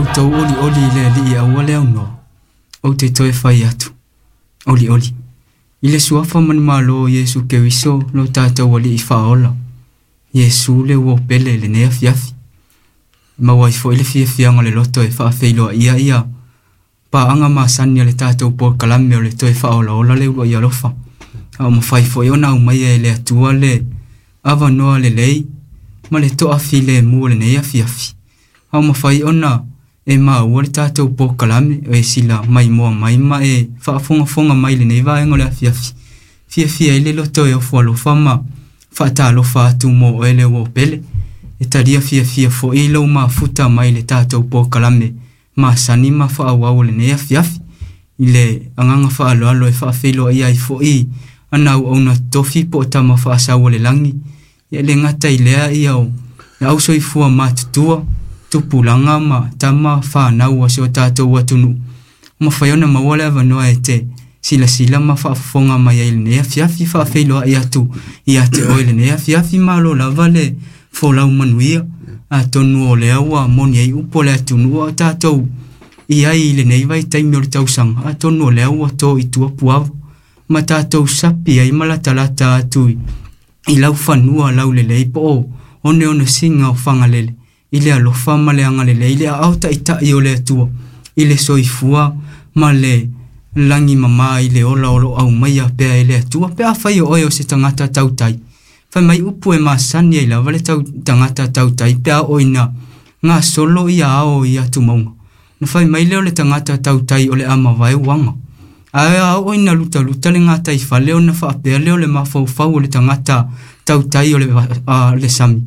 Outou olioli i le Alii aua le aunoa, ou te toe fai atu, olioli. I le suafa manumalo o Iesu Keriso lo tatou Alii Faaola, Iesu le uo pele i lenei afiafi. E maua ai foi le fiafiaga o le loto e faafeiloaia ia paaga masani a le tatou polokalame o le toe faaolaola le uluai alofa. A o mafai foi ona aumaia e le Atua le avanoa lelei ma le toafilemu o lenei afiafi. A o mafai ona e maua le tatou polokalame o e sila maimoa mai ma e faafogafoga mai i lenei vaega o le afiafi. Fiafia ai le loto e ofo alofa ma faatalofa atu mo oe le uo pele. E talia fiafia foi lou mafuta mai le tatou polokalame masani ma faaauau o lenei afiafi. I le agaga faaaloalo e faafeiloai ai foi ana auauna totofi po o tama faasau o le lagi. Ia e le gata i lea ia o le ausoifua matutua, tupulaga ma tama fanau a si o tatou atunuu. Mafai ona maua le avanoa e te silasila ma faafofoga mai ai i lenei afiafi, faafeiloai atu ia te oe i lenei afiafi. Malo lava le folau manuia, atonu o lea ua moni ai upu o le atunuu a o tatou i ai i lenei vaitaimi o le tausaga, atonu o lea ua to i tua puava ma tatou sapi ai ma latalata atu i laufanua laulelei po o oneonesiga o Fagalele i le alofa ma le agalelei, le aao taitai o le Atua i le soifua ma le lagi mama i le ola o lo o aumaia pea e le Atua. Pe afai o oe o se tagata tautai, fai mai upu e masani ai lava le tagata tautai pe a oo ina gasolo ia ao i atumauga. Na fai mai lea o le tagata tautai o le a mavae uaga. Ae a oo ina lutaluta le gataifale ona faapea lea o le mafaufau o le tagata tautai o le sami,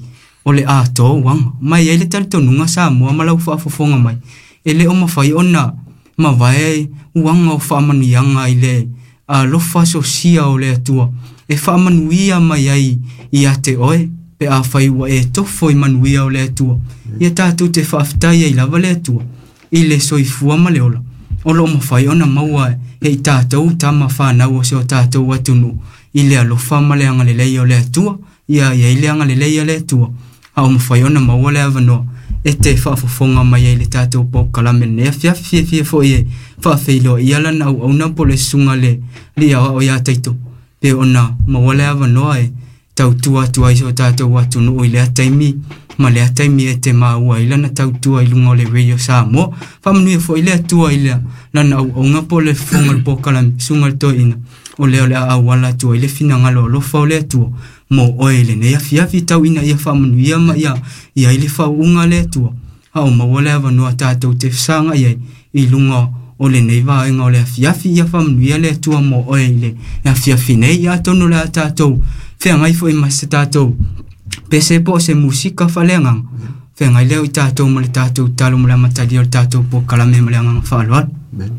o le a to uaga. Ma e i ai le talitonuga Samoa ma lau faafofoga mai, e le o mafai ona mavae uaga o faamanuiaga i le alofa sosia o le Atua e faamanuia mai ai ia te oe pe afai ua e tofo i manuia o le Atua. Ia tatou te faafetai ai lava le Atua i le soifua ma le ola o lo o mafai ona maua e i tatou tama fanau o si o tatou atunuu i le alofa ma le agalelei o le Atua. Ia i ai le agalelei a le Atua a o mafai ona maua le avanoa e te faafofoga mai ai i le tatou polokalame i lenei afiafi. Fiafia foi e faafeiloaia lana auauna po o le susuga i le Alii Aoao ia Taito pe ona maua le avanoa e tautua atu ai i si o tatou atunuu i lea taimi ma lea taimi e te maua ai lana tautua i luga o le Radio Samoa. Faamanuia foi le Atua i lana auauna po o le fofoga o le polokalame, susuga i le toeaina, o lea o le a auala atu ai le finagalo alofa o le Atua mo oe i lenei afiafi, tau ina ia faamanuia ma ia i ai le faauuga a le Atua, a o maua le avanoa tatou te fesagai ai i luga o lenei vaega o le afiafi. Ia faamanuia le Atua mo oe i le afiafi nei. Ia atonu o le a tatou feagai foi ma se tatou pese po o se musika faaleagaga, feagai lea o i tatou ma le tatou talo mo le amatalia o le tatou polokalame ma le agaga faaaloalo. Amen.